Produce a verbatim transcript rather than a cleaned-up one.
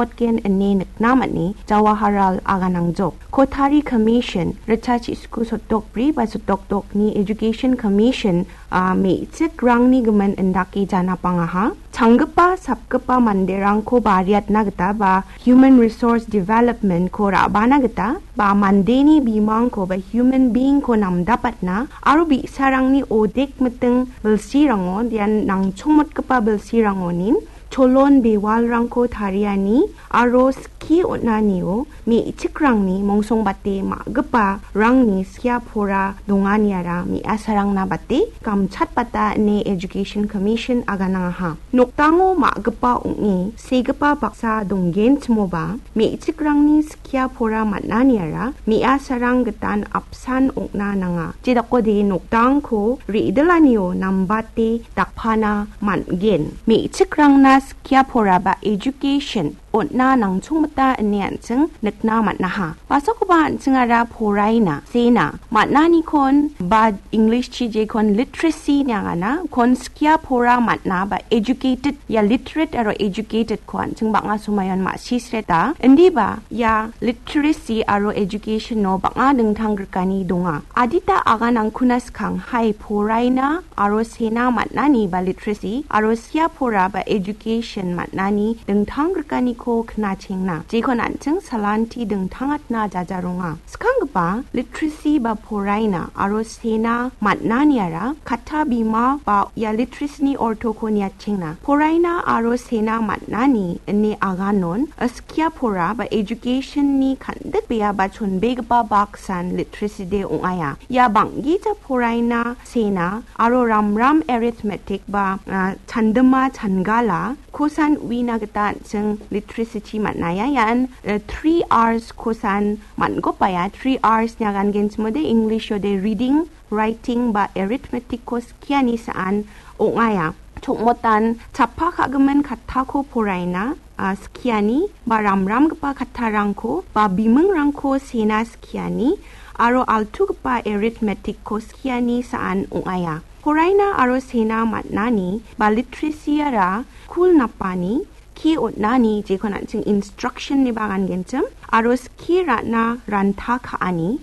Otgen ine nikna man·e Jawaharlal Aganangjok. Kotari Commission, ritchasku sotdok bri ba sotdok dokni Education Commission, a, me·chikrangni gimin indake janapangaha. Changgipa, sapgipa manderangko bariatna gita ba Human Resource Development-ko ra·bana gita ba mandeni bimangko ba human being-ko namdapatna aro bi·sarangni odek miting bilsirango, ian nangchongmotgipa bilsirangonin cholon bewalrangko tariani aro skie on·anio me·chikrangni mongsongbate ma·giparangni skia pora donganiara me·asarangna bate gamchatbata ine Education Commission aganangaha. Nokdango ma·gipa ong·e segipa baksa donggenchimoba me·chikrangni skia pora man·aniara me·asarang gitan apsan ong·na nanga. Jedakode nokdangko re·dilanio nambate dakpana man·gen. Me·chikrangna skia pora ba education on·na nangchongmita ine an·ching nikna man·aha. Basakoba an·chingara poraina, sena, man·anikon ba English-chi jekon literacy ine agana, kon skia pora man·a ba educated, ia literate aro educated-ko an·ching bang·a somayon ma·sisreta. Indiba ia literacy aro education-o bang·a dingtang grikani donga. Adita aganangkuna skang hai poraina aro sena man·ani ba literacy aro skia pora ba education man·ani dingtang grikaniko knachengna. Jekon an·ching salanti dingtangatna jajaronga. Skanggipa literacy ba poraina aro sena man·aniara katta bima ba ia literacy-ni ortoko niatchengna. Poraina aro sena man·ani ine aganon skia pora ba education-ni kandikbea ba chonbegipa baksan literacy de ong·aia. Ia bang·gija poraina, sena aro ramram arithmetic ba, a, chandima changala kosan uina gita an·ching literacy-chi man·aia. Ian, a, three Rs kosan man·gopaia. Three Rs ine agangenchimode English-ode reading, writing ba arithmetic-ko skiani sa·an ong·aia. Chongmotan chappa ka·gimin kattako poraina, a, skiani ba ramramgipa kattarangko ba bimingrangko sena skiani aro altugipa arithmetic-ko skiani sa·an ong·aia. Poraina aro sena man·ani ba literacy-ara skul napani, skie on·ani jekon an·ching instruction ine agangenchim aro skie ra·na ranta ka·ani